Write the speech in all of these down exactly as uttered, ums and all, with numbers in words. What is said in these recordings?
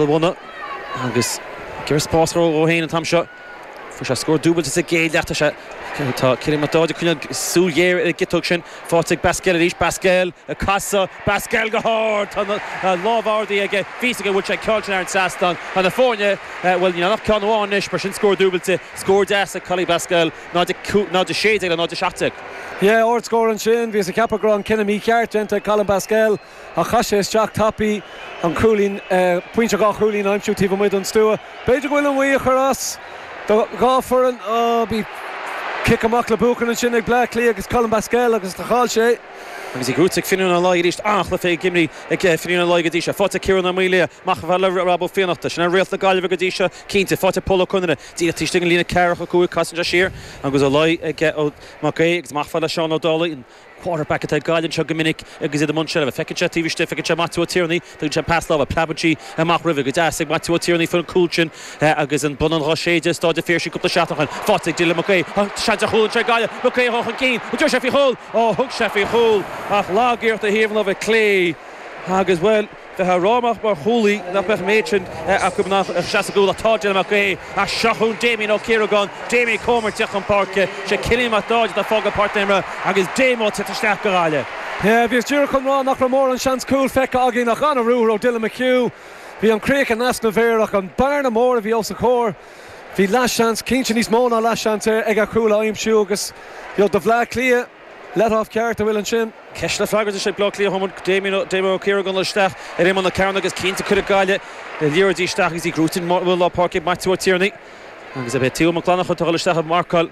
bhunadh agus gur spás ó héin an t-am seo. Fuair sé scór dúbailte sa gcéad leath sé tá Cillian Mac Dáide chun súil ghéar ar an gciotóg sin faighte ag Basquel arís Basquel ag casadh Basquel go hard tá lámh ardaithe aige bhí go bhfuil sé ceann ar an trasnán an na foirne bhfuil ní nach ceann amháin anois mar sin scór dúbailte scór deas ag Collie Basquel náid náid sé déag le náid seacht déag. Yeah, ardscór ansin, bhí sa ceapadh go raibh an cinneadh mícheart déanta ag Colin Basquel a chaith sé isteach tapaidh an cúilín pointe dhá chúilín aimsiú taobh amuigh den stua. B'fhéidir go bhfuil an ghaoth ag cur as do dhá foireann bhí cic amach le buachan ansin ag Bleá Cliath agus Colin Basquel agus tá chaill sé. Agus í gnóthaithe ag Finian Ó Laoi arís an-chluiche ag imrithe ag Finian Ó Laoi go dtí seo. Faighte Ciarán Ó Maoilia amach le Rob Ó Fiannachta. Sin an réalt na Gaillimhe go dtí seo cinnte faighte Pól Ó Conaire. Díreach taobh istigh an líne ceathracha cúig casann sé siar agus Ó Laoi ag ó Mac Aodh agus amach le Seán Ó Dálaigh an quarterback atá ag Gaillimh seo go minic agus iad i mbun seilbhe. Feiceann sé taobh istigh feiceann sé Maitiú Ó Tiarnaigh, tugann sé pas láimhe preabann sí amach roimhe go deas ag Maitiú Ó Tiarnaigh faoin cúl sin agus an bun an dhá séide Staid an Phiarsaigh cúpla seachtain faighte ag Dylan Mac Aodh. Seans ar chúl sé Gaillimh Mac Aodh chun cinn, dúirt sé faoi chúl ó thug sé faoi chúl ach lagiarracht a thaobh láimhe clé agus well bheith rámach mar chúlaí nach beidh méid sin acu nach seas gúla tá Dylan Mac Aodh a seachún Damien Ó Ciaragáin Damien Comer teach an páirce sé Cillian Mac Dáid a fága páirc agus Damo te isteach go Gaillimh. Yeah, bhí díreach chun rá nach raibh mórán seans cúl feicthe againn ach an-ruathar ó Dylan McHugh. Bhí an chríoch in easnamh air ach an bearna mór a bhí os a chomhair. Bhí leathsheans cinnte níos mó ná leathsheans ag a chúl a aimsiú agus do Bhleá Cliath let-off ceart a bhfuil ansin. Ceist le freagairt sé Bleá Cliath Homan Damien Damien Ó Ciaragáin isteach ar imeall na cearn agus cinnte cuireadh Gaillimh le liathróidí isteach agus í gnóthaithe bhfuil lá páirce Maitiú Ó Tiarnaigh agus a bheith Theo Mac Lannach atá isteach ag marcáil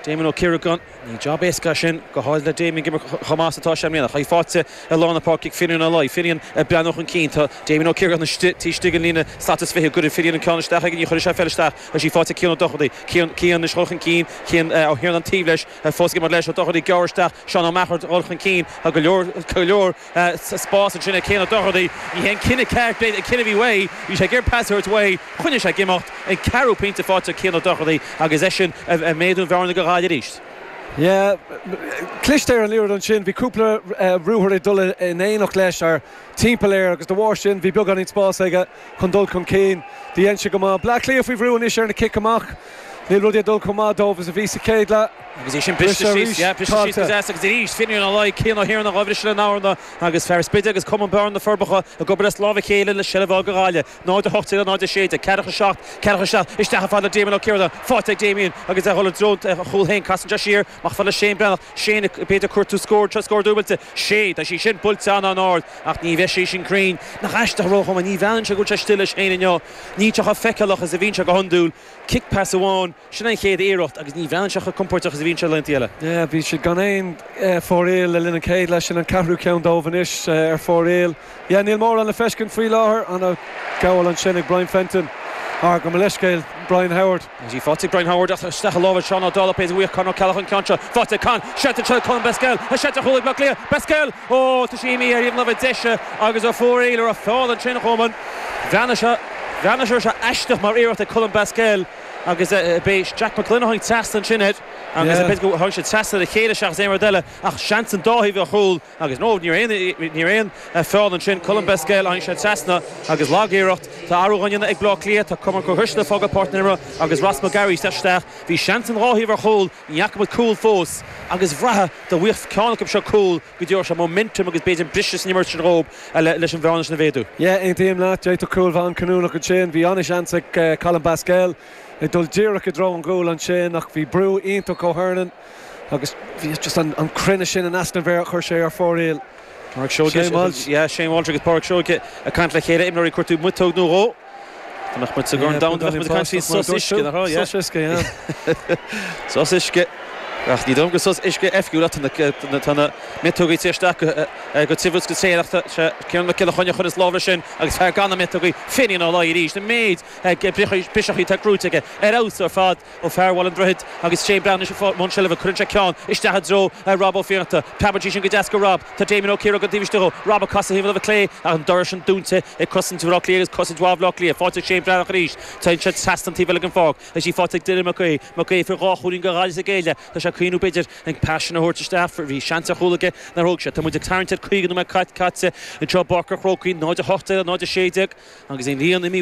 Damien Ó Ciaragáin ní job éasca sin go háirithe le Damien gimar chumas atá sé mbliana. Chaí fáte i lár na páirce Finian Ó Laoi Finian ag breathnú chun cinn tá Damien Ó Ciaragáin istigh an líne slat is fiche gur Finian an ceann isteach ag ní chuir sé feil isteach a sí faighte Cian Ó Dochartaigh Cian Cian is chun cinn Cian ó thiar an taobh leis fós mar leis Ó Dochartaigh gearr isteach Seán Ó Meachar dhul chun cinn a go leor go leor spás ansin ag Cian Ó Dochartaigh ní hé an cinneadh ceart an cinneadh bhí uaidh bhí sé gur pas uaidh choinnigh sé ag imeacht an ceathrú pointe faighte Cian Ó Dochartaigh agus é sin a méadú bhearna go Gaillimh arís. Yeah, cliste ar an liathróid ansin, bhí cúpla ruathar ag dul in éineacht leis ar timpeall air agus de bharr sin bhí beagáinín spás aige chun dul chun cinn. Dhein sé go maith. Bleá Cliath faoi bhrú anois ar na cic amach. Níl rudaí ag dul chomh maith dóibh is a bhí sa chéad leath. Agus é sin briste síos, yeah, briste síos go deas agus arís Finian Ó Laoi Cian Ó hIarna dhá bhriseadh le Namharna agus fear Spide agus Cumann Bearna na Forbacha ag obair as lámh a chéile le seilbh go Gaillimh. Náid a hocht déag náid a sé déag, ceathracha seacht, ceathracha seacht, isteach fad le Damien Ó Ciaragáin, faighte ag Damien agus é dhul i dtreo chúl féin casann sé siar, amach fad le Shane Breathnach, Shane b'fhéidir cuartú scór scór dúbailte, sé, tá sí sin buailte an-ard ach ní bheidh sí sin cruinn. Nach aisteach ró ní bhean sé go bhfuil sé stille Shane inniu. Ní teach feiceálach is a bhíonn sé go hiondúil, kick pass amháin, sin an chéad iarracht agus ní bhean sé chomh compordach is a bhíonn sé laethanta eile. Yeah, bhí siad gan aon fóraoil le linn an chéad leath sin an ceathrú ceann dóibh anois ar fóraoil. Yeah, níl mórán le feiscint faoi láthair an gabháil ansin ag Brian Fenton. Ar go leiscéil Brian Howard. Í faighte Brian Howard ach isteach i lámha Seán Ó Dálaigh péidir bhuíoch Con Ó Ceallach an ceann seo. Faighte Con seite se Colin Basquel a seite chúl ag Bleá Cliath Basquel ó tá sí imithe ar thaobh láimhe deise agus a fóraoil ar a feall ansin chuman. Bheanna se bheanna se se aisteach mar iarracht ag Colin Basquel agus b'é Jack McGlynn a tháinig trasna ansin air agus b'fhéidir go tháinig sé trasna le chéile seachas aon rud eile ach seans an dá thaobh a chúl agus nó ní aon ní aon feall ansin Colin Basquel tháinig sé trasna agus lagiarracht tá athrú á dhéanamh ag Bleá Cliath tá Cormac Ó hUisle fágáil páirc na agus Ross McGarry isteach bhí seans an dhá thaobh ar chúl ní fhaca muid cúl fós agus bhraithe do bhuíoch ceann acu seo cúl go dtí sé momentum agus b'fhéidir briseadh san imirt sin dhóibh leis an bhearna sin a mhéadú. Yeah, aontaím leat d'fhéadfadh cúl bheith an-chinniúnach ansin, bhí an-seans ag Colin Basquel ag dul díreach i dtreo an chúil ansin ach bhí brú iontach ó Hernan agus bhí just an, an cruinne sin in easnamh air chuir sé ar fóraoil. Pádraig Seoige yeah, Shane Walsh agus Pádraig Seoige ag caint le chéile imreoirí cuartú miotóg nó dhó. Tá muid sa gCorn Domhanda bheadh muid ag caint faoi sos uisce nach raibh, yeah. Sos uisce, yeah. Sos uisce. Ach ní dom go sos uisce oifigiúil tá na miotógaí isteach go tiubh go tréan ach sé Ciarán Mac Giolla Chainnigh chun is lámh leis sin agus fear gan na miotógaí Finian Ó Laoi arís na méid briseachaí tá gnóthaithe aige ar fheabhas ar fad ó fear Bhaile an Droichid agus Shane Breathnach mbun seilbhe cuireann sé ceann isteach i dtreo Rob Ó Fiannachta Preabann sí sin go deas go Rob tá Damien Ó Ciaragáin taobh istigh Rob ag casadh thaobh láimhe clé ach an doras sin dúnta ag cosaint Bhaile Átha Cliath agus cosaint mhaith Bhaile Átha Cliath faighte Shane Breathnach arís Tá sé trasna an taobh eile den pháirc Tá sí faighte ag Dylan Mac Aodh Mac Aodh fir dhá chúilín go Gaillimh sa gcéile Tá sé ag cuimhneamh b'fhéidir an pas sin a thabhairt isteach bhí seans ar chúl aige nár thóg sé. Tá muid ag tarraingt ar caoga nóiméad caite anseo i bPáirc an Chrócaigh náid a hocht déag náid a sé déag agus an líon imithe